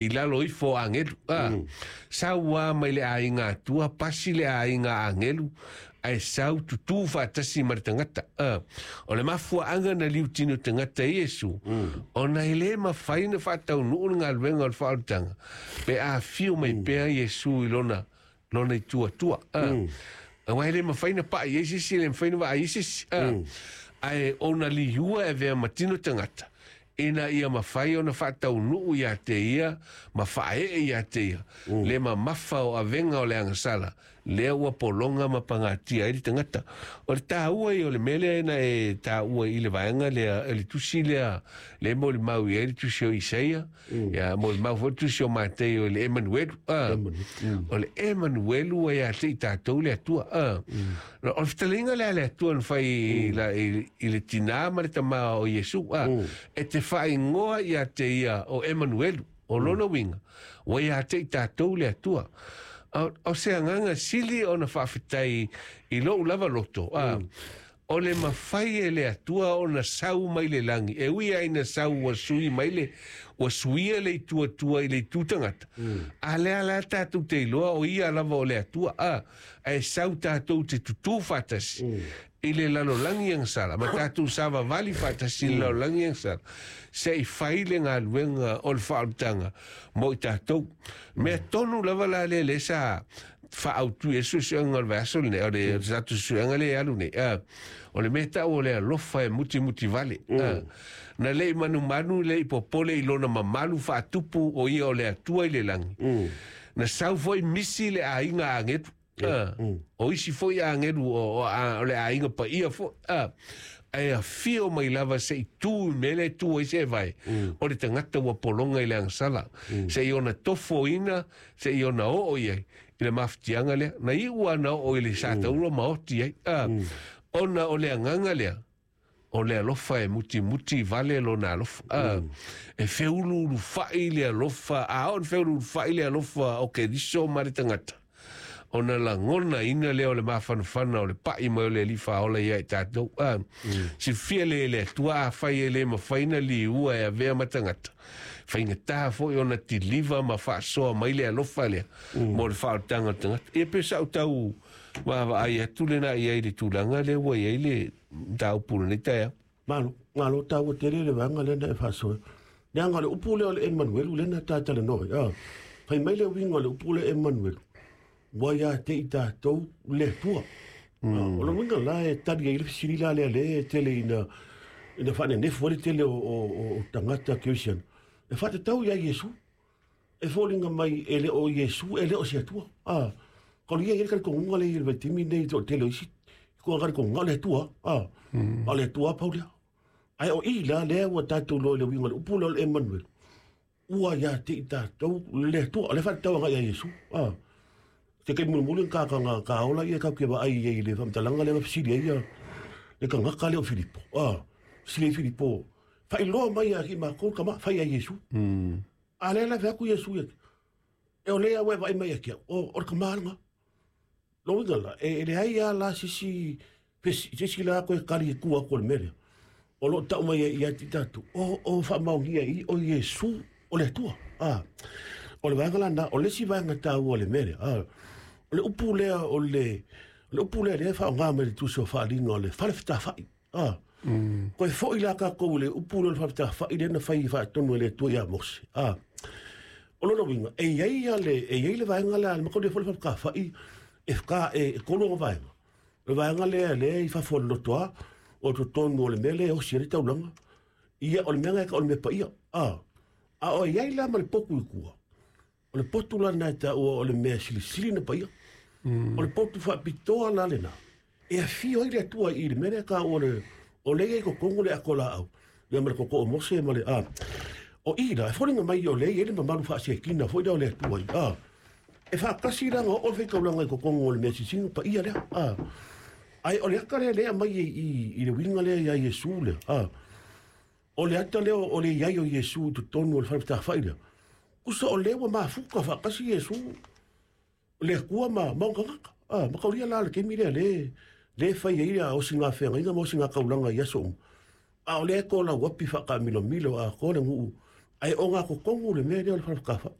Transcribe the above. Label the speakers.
Speaker 1: I lalo ifo o agelu, a. Sau lava mai le aiga Atua, pasi le aiga agelu, ae sau tutū faatasi ma le tagata, a. O le mafuaaga na liutino tagata i Iesu, ona e lē mafai ona faataunuu le galuega o le faaolataga, pe afio mai pea Iesu i lona lona itu Atua, a. Aua e lē mafai ona pa'i ai se isi, e lē mafai ona vaai ai se isi, a. Ae ona liua e avea ma tino tagata, ina ia mafai ona faataunuu iā te ia ma faaee iā te ia le mamafa o avega o le agasala lea ua pologa ma pagatia ai le tagata. O le taua ia o le mea lea na e taua i le vaega lea, le tusi lea le molimau i ai le tusi o Isaia, ia molimau foi le tusi o Mateio i le Emanuelu. O le Emanuelu ua ia te i tatou le Atua. O le fetalaiga lea a le Atua na fai i le tinā ma le tamā o Iesu, e te faaigoa ia te ia o Emanuelu, o lona uiga, ua ia te i tatou le Atua. O se agaga sili ona faafetai i lou lava loto, o le mafai e le Atua ona sau mai le lagi, e ui lava ina sau ua sui mai le, ua suia le itu Atua i le itu tagata, a lea la tatou te iloa o ia lava o le Atua, ae sau tatou te tutū faatasi i le lalolagi agasala, ma tatou savavali faatasi i le lalolagi agasala, se i fai le galuega o le faaolataga mo i tatou. Mea tonu lava la lea lea sa faaautu i ai le suesuega o le vaiaso lenei, o le tatou suesuega lea e alu nei, o le mea tau o le alofa e mutimuti vale. Na le i manumanu, le i popole i lona mamalu faatupu o ia o le Atua i le lagi. Na sau foi misi le aiga agelu, o isi foi agelu o le aiga paia foi, ae afio mai lava se i tu i mea lea e tu ai se evae, o le tagata ua pologa i le agasala, se i ona tofoina, se i ona oo i ai i le mafatiaga lea. Na iu lava na oo i le satauro ma oti ai, ona o le agaga lea, o le alofa e mutimuti vale lona alofa. E feuluulufa'i le alofa, a oo ina feuluulufa'i le alofa o Keriso ma le tagata, ona lagonaina lea o le mafanafana o le pa'i mai o le Alii Faaola ia i tatou. Silafia lea e le Atua, afai e le mafai ona liua e avea ma tagata, faigata foi ona tiliva ma faasoa mai le alofa lea mo le faaolataga o le tagata. Ia pe sa ou tau vaavaai atu lena i ai i le tulaga lea ua i ai le mataupu i lenei taeao.
Speaker 2: Malo, malo taua tele le vaega lea na e faasoa. Leaga o le upu lea o le Emanuelu lea na ta talanoa ai. Fai mai le uiga o le upu lea Emanuelu, ua ia te i tatou le Atua. O le uiga la e tali ai le fesili la lea lea e tele ina faanenefu ai le tele o tagata Kerisiano. E faatatau ia Iesu. E foliga mai e le o Iesu, e le o se Atua. Ka o ia i le talitonuga lea i le vaitaimi lenei i le toatele o isi koa talitonuga o le Atua. A o le Atua pau lea. Ae o i la lea ua tatou iloa i le uiga o le upu lea o le Emanuel, ua ia te i tatou le Atua. O lea faatatau agai ia Iesu. Se taimi mulimuli na ka ka ola ia kau ke vaai ai i le faamatalaga lea na fesili ai ia le tagata lea o Filipo. Fesili ai Filipo, faailoa mai ia ki makou le tama, fai ia Iesu. A lea la fai atu Iesu ia, e o lea ua e vaai mai ia te au, o le tama lena. Lona uiga la, e leai lava la se isi, se isi la toe tali i tua atu o le mea lea. O lo o tau mai ai ia te i tatou, o faamaonia i i o Iesu o le Atua. O le vaega la lena, o le isi vaega taua o le mea lea, o le upu lea o le, o le upu lea lea e faaaoga mai i le tusi o Faaaliga o le falefetafai. Toe foi la tatou i le upu lea o le falefetafai lea na fai faatonu e le Atua ia Mose. O lona uiga, e i ai le, e i ai le vaega lea, le mataulia foi le falefetafai, e whaka, e tolu ona vaega. O le vaega lea, lea i fafo o le lotoa, o totonu o le mea lea e osi ai le taulaga. Ia, o le mea lena e tau o le mea paia. A o i ai la ma le potu i tua, o le potu la lena e taua o le mea silisili na paia. O le potu faapitoa la lena, e afio ai le Atua i le mea lea e taua o le, o lea e i ai i totonu le ato laau, ia ma le toto o Mose ma le, o i la, e foliga mai o lea e i ai le mamalu faasekina foi lea o le Atua i, e faatasi la na oo le faitaulaga i totonu o le mea silisili na paia lea, Ae o le ata lea lea e aumai i le uiga lea ia Iesu lea, o le ata lea o le i ai o Iesu i totonu o le falefetafai lea, tusa o lea ua mafuta faatasi Iesu, le Atua ma ona tagata. Mataulia la le taimi lea lea e fai ai le osigā feagaiga ma osigā taulaga i aso uma, a o lea e tolauapi faataamilomilo atoa le nuu. Ae ogatotonu le mea lea o le falefatafaʻi.